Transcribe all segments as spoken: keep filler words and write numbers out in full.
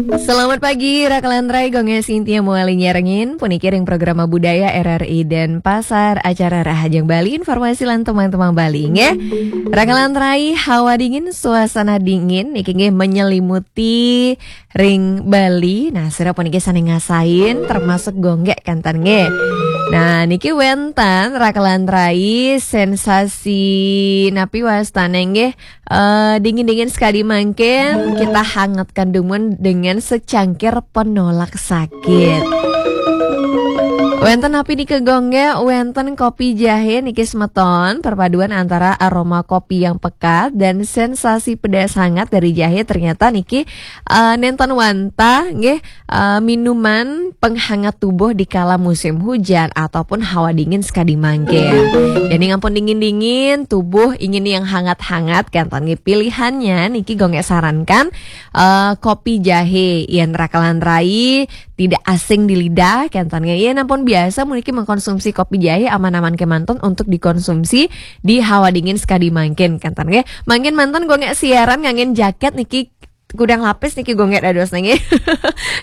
Selamat pagi, Rakalan Rai, Gongnya Sintia Muali nyarengin, puniki ring Programa Budaya R R I Denpasar, acara Rahajeng Bali, informasi lan tembang-tembang Bali, nggih. Rakalan Rai, hawa dingin, suasana dingin, niki nggih menyelimuti ring Bali. Nah, sira puniki sané ngasain, termasuk Gonggek kanten nggih. Nah, niki wénten Rakalan Rai, sensasi napi wastané nggih, eh, dingin-dingin sekadi mangkin, kita hangatkan dumun dengan secangkir penolak sakit. Wénten napi nika Gonggek, wénten kopi jahé niki semeton, perpaduan antara aroma kopi yang pekat dan sensasi pedas hangat dari jahé, ternyata niki, eh, nénten wantah nggih, eh, minuman penghangat tubuh di kala musim hujan ataupun hawa dingin sekadi mangkin. Jadi ampun dingin-dingin, tubuh ingin yang hangat-hangat, kanten nggih pilihannya niki Gonggek sarankan, eh, kopi jahé. Yén Rakalan Rai tidak asing di lidah, kanten nggih. Yén ampun biasa puniki mengkonsumsi kopi jahé, aman-aman kémanten untuk dikonsumsi di hawa dingin sekadi mangkin, kanten nggih. Mangkin manten Gonggek siaran nganggén jakét niki, kudang lapis niki Gonggek dados niki.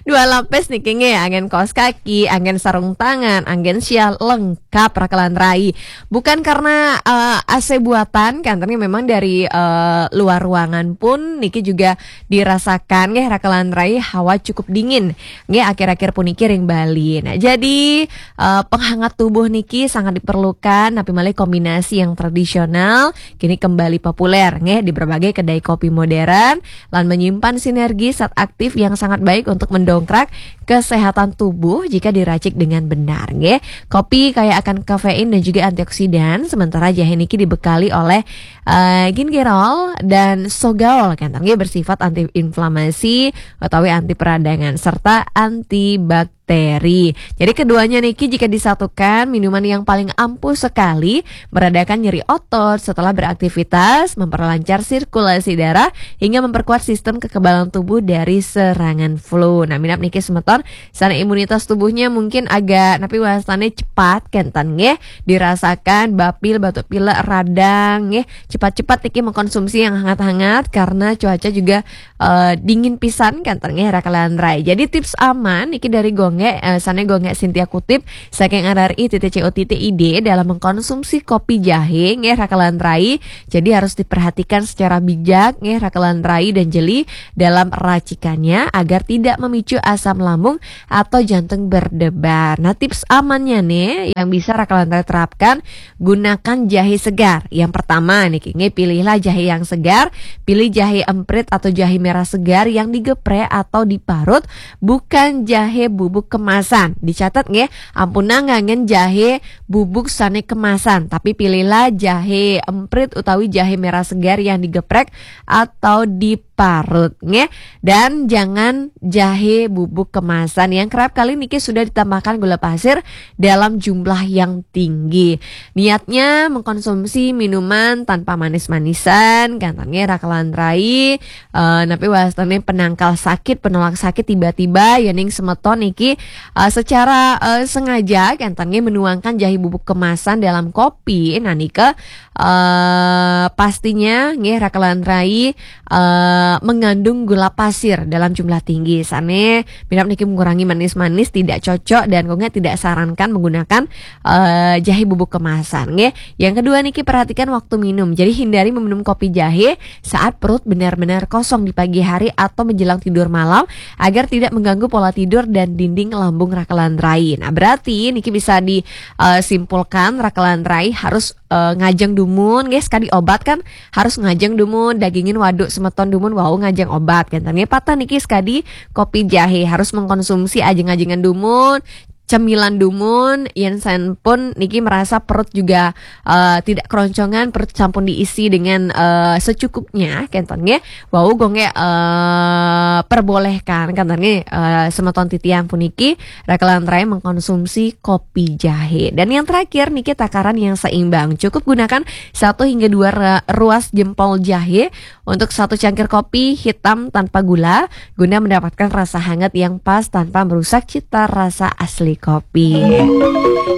Dua lapis niki nggih, anggén kaos kaki, anggén sarung tangan, anggén sial, lengkap Rakalan Rai. Bukan karena, eh, A C buatan, kanten nggih, memang dari, eh, luar ruangan pun niki juga dirasakan nggih Rakalan Rai, hawa cukup dingin nggih akhir-akhir puniki ring Bali. Nah, jadi, eh, penghangat tubuh niki sangat diperlukan, napi malih kombinasi yang tradisional kini kembali populer nggih di berbagai kedai kopi modern lan menyimpan sinergi zat aktif yang sangat baik untuk mendongkrak kesehatan tubuh jika diracik dengan benar nggih. Kopi kaya akan kafein dan juga antioksidan, sementara jahé niki dibekali oleh, eh, gingerol dan sogaol, kanten nggih, bersifat antiinflamasi utawi anti peradangan serta antibakteri. Jadi keduanya niki jika disatukan, minuman yang paling ampuh sekali meredakan nyeri otot setelah beraktivitas, memperlancar sirkulasi darah, hingga memperkuat sistem kekebalan tubuh dari serangan flu. Nah, minab niki semeton, sané imunitas tubuhnya mungkin agak, napi wastané, cepat, kanten nggih, dirasakan bapil, batuk pilek, radang nggih, cepat-cepat niki mengkonsumsi yang hangat-hangat karena cuaca juga, eh, dingin pisan, kanten nggih Rakalan Rai. Jadi tips aman niki dari Gonggek, eh, sané Gonggek Sintia kutip saking R R I titik C O titik I D dalam mengkonsumsi kopi jahé nggih Rakalan Rai. Jadi harus diperhatikan secara bijak nggih Rakalan Rai dan jeli dalam racikannya agar tidak memicu asam lambung atau jantung berdebar. Nah, tips amannya nih yang bisa Rakalan Rai terapkan, gunakan jahé segar. Yang pertama niki nggih, pilihlah jahé yang segar, pilih jahé emprit atau jahé merah segar yang digeprek atau diparut, bukan jahé bubuk kemasan. Dicatat nggih, ampun nganggén jahé bubuk sané kemasan, tapi pilihlah jahé emprit utawi jahé merah segar yang digeprek atau diparut nggih. Dan jangan jahé bubuk kemasan yang kerap kali niki sudah ditambahkan gula pasir dalam jumlah yang tinggi. Niatnya mengkonsumsi minuman tanpa manis-manisan, kanten nggih Rakalan Rai, eh, napi wastané penangkal sakit, penolak sakit tiba-tiba, yéning semeton niki, eh, secara, eh, sengaja, kanten nggih, menuangkan jahé bubuk kemasan dalam kopi. Nah, nika, eh, pastinya nggih Rakalan Rai, eh, mengandung gula pasir dalam jumlah tinggi. Sané minab niki mengurangi manis-manis, tidak cocok dan Gonggek tidak sarankan menggunakan, eh, jahé bubuk kemasan nggih. Yang kedua niki, perhatikan waktu minum. Jadi hindari meminum kopi jahé saat perut benar-benar kosong di pagi hari atau menjelang tidur malam agar tidak mengganggu pola tidur dan dinding lambung Rakalan Rai. Nah, berarti niki bisa disimpulkan Rakalan Rai harus, eh, ngajeng dumun nggih, sekadi obat kan harus ngajeng dumun, dagingin waduk semeton dumun wau ngajeng obat, kanten nggih. Patah niki sekadi kopi jahé harus mengkonsumsi ajeng-ajengan dumun, cemilan dumun, yén sampun niki merasa perut juga, eh, tidak keroncongan, perut sampun diisi dengan, eh, secukupnya, kanten nggih. Wau Gonggek, eh, perbolehkan, kanten nggih, eh, semeton titiang puniki Rakalan Rai mengkonsumsi kopi jahé. Dan yang terakhir niki, takaran yang seimbang. Cukup gunakan satu hingga dua ra-, ruas jempol jahé untuk satu cangkir kopi hitam tanpa gula guna mendapatkan rasa hangat yang pas tanpa merusak cita rasa asli kopi.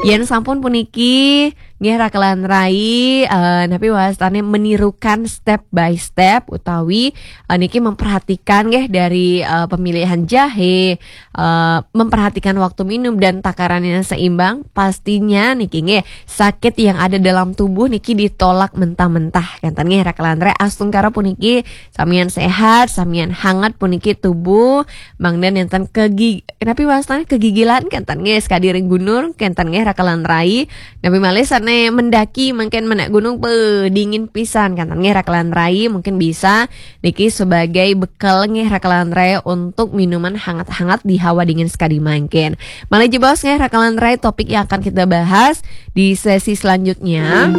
Yen sampun puniki nggih raka lan rai, eh, napi wastane menirukan step by step utawi, eh, niki memperhatikan nggih dari, eh, pemilihan jahe, eh, memperhatikan waktu minum dan takarannya seimbang, pastinya niki nggih sakit yang ada dalam tubuh niki ditolak mentah-mentah. Kenten nggih raka lan rai, astungkara puniki samian sehat, samian hangat puniki tubuh, mangda nenten kegi-, napi wastane kegigilan kenten nggih, sekadi ring gunung kenten nggih raka lan rai. Napi malih sane mendaki mungkin menak gunung, beuh, dingin pisan kenten nggih raka lan rai, mungkin bisa niki sebagai bekal nggih raka lan rai untuk minuman hangat-hangat di hawa dingin sekadi mangkin. Malih jebos nggih raka lan rai topik yang akan kita bahas di sesi selanjutnya.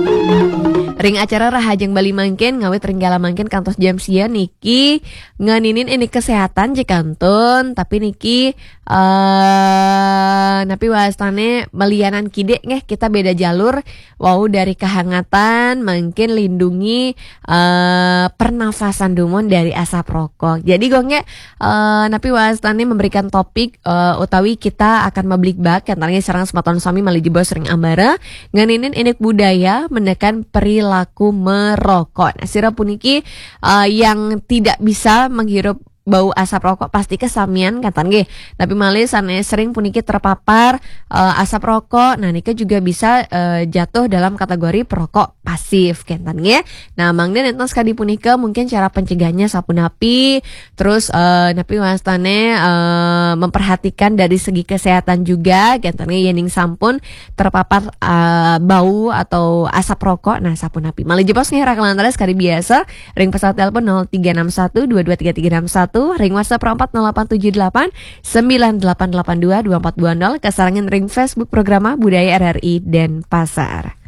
Ring acara Rahajeng Bali mangkin ngawit ring kala mangkin kantos jam sia niki ngeninin ini kesehatan je kantun, tapi niki, eh, napi wastane melianan kidik nggih, kita beda jalur, wau dari kehangatan, mungkin lindungi, eh, pernafasan dumun dari asap rokok. Jadi gongge, eh, napi wastane memberikan topik, eh, utawi kita akan mablik bak, kenten nggih sareng semeton sami malih jebos ring ambara, ngeninin indik budaya menekan perilaku merokok. Nah, sira puniki, eh, yang tidak bisa menghirup bau asap rokok pasti kesamian kenten nggih. Tapi malih sane sering puniki terpapar, eh, asap rokok, nah nika juga bisa, eh, jatuh dalam kategori perokok pasif kenten nggih. Nah, mangda nenten sekadi punika mungkin cara pencegahannya sapunapi, terus, eh, napi wastane, eh, memperhatikan dari segi kesehatan juga kenten nggih, yening sampun terpapar, eh, bau atau asap rokok, nah sapunapi. Malih jebos nggih raka lan rai sekadi biasa, ring pesawat telepon nol tiga enam satu dua dua tiga tiga enam satu, ring WhatsApp empat nol delapan tujuh delapan sembilan delapan delapan dua dua empat dua nol, kasarengin ring Facebook Programa Budaya R R I Denpasar.